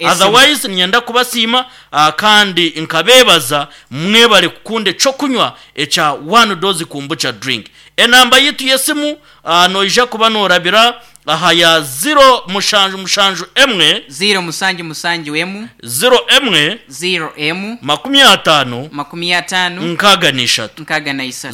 Esimu. Otherwise niinyenda kubasiima kandi nkabeebaza mwebare kukunda eky'okunywa ekya One Dose Kombucha Drink. Enamba yaitu y'esimu noija kuba noorabira aha ya ziro mushanju mushanju emwe. Ziiro musanju musanju emu. Ziro emwe. Ziiro emu. 50. 50. 63. 63.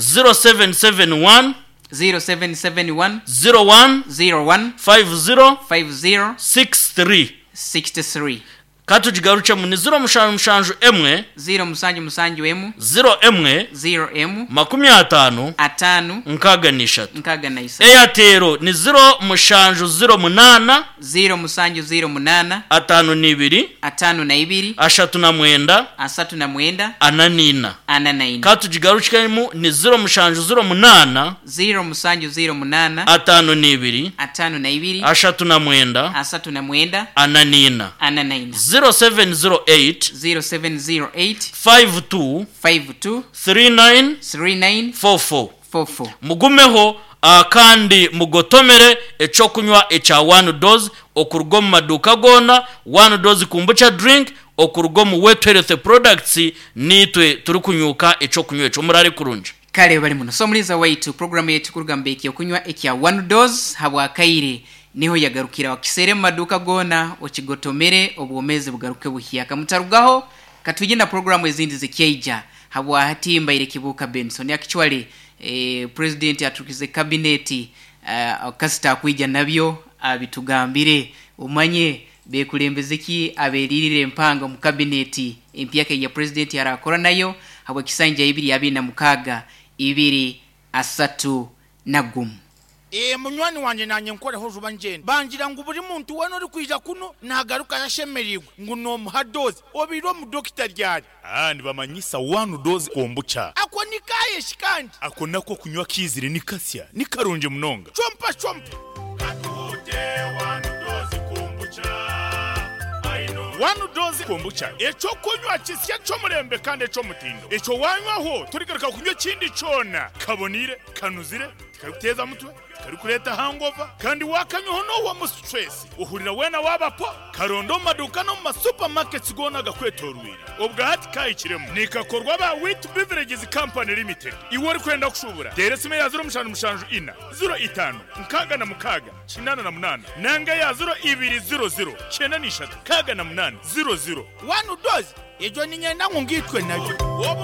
0771. 0771. 01. 01. 50. 50. 63. 63. Ka tugigarukyemu, ni ziro mushanju mushanju emwe. Ziiro musanju musanju emu. Ziro emwe. Ziiro emu. 50. Ataano. 63. 63. Eyatero ni ziro mushanju ziro munaana. Ziiro musanju ziiro munaana. 52. 52. 39. 39. 44. 44. Ka tugigarukemu, ni ziro mushanju ziro munaana. Ziiro musanju ziiro munaana. 52. 52. 39. 39. 44. 44. 0708. 0708. 52. 52. 39. 39. 44. 44. Mugumeho kandi mugotomere eky'okunywa ekya One Dose okuruga omu maduuka goona, One Dose Kombucha Drink okuruga omu Wet Health Products niitwe turikunyuuka eky'okunywa ekyo. Muraare kurungi. Kale bali muno. So mulinza waitu, program yaitu kuruga mu Ekyokunywa ekya One Dose habwakaire niho yagarukira. Okiseere mu maduuka goona okigotomere obwomezi bugaruke buhyaka. Mutarugaho katwije na program ezindi zikyaija. Habwahati mbaire Kibuuka Benson. Actually eh, president aturukize cabinet eh, kasita akwija nabyo abitugambire omanye bekulembeze ki aberirire empanga omu cabinet empyaka eya president arakora nayo habwekisanja 2026 2031. Ee, munywani wangye naanye nkoreho juba ngyende. Bangira ngu buri muntu weena orikwija kunu naagarukayo ashemereirwe ngu noomuha doozi. Obaire omu dokita ryari? Aa, nibamanyisa one dose kombucha. Ako ni kaaye shi kandi? Ako nako okunywa kaizire ni kasya, ni karungi munonga. Chompa chompa. Katuhute one dose kombucha. One dose kombucha, eky'okunywa kisya ky'omurembe kandi eky'omutindo. Ekyo waanywaho torigaruka kunywa ekindi kyona. Kaboniire, kanuzire, tikarikuteeza mutwe, tikarikureeta hangover, kandi waakanywaho noohwamu stress, ohurira weena waaba po. Karonde omu maduuka n'omu ma supermarkets goona agakwetooroire. Obwa hati kaahikiremu. Nikakorwa aba Wheat Beverages Company Limited. Iwe orikwenda kushuubura, teera esimu eya ziro mushanju mushanju ina, ziro itaano, nkaaga na mukaaga, 88 nanga eya ziro ibiri ziro ziro, kyenda na ishatu, nkaaga na munaana, ziro ziro. One dose, egyo niinyenda ngu ngaitwe nayo. Obu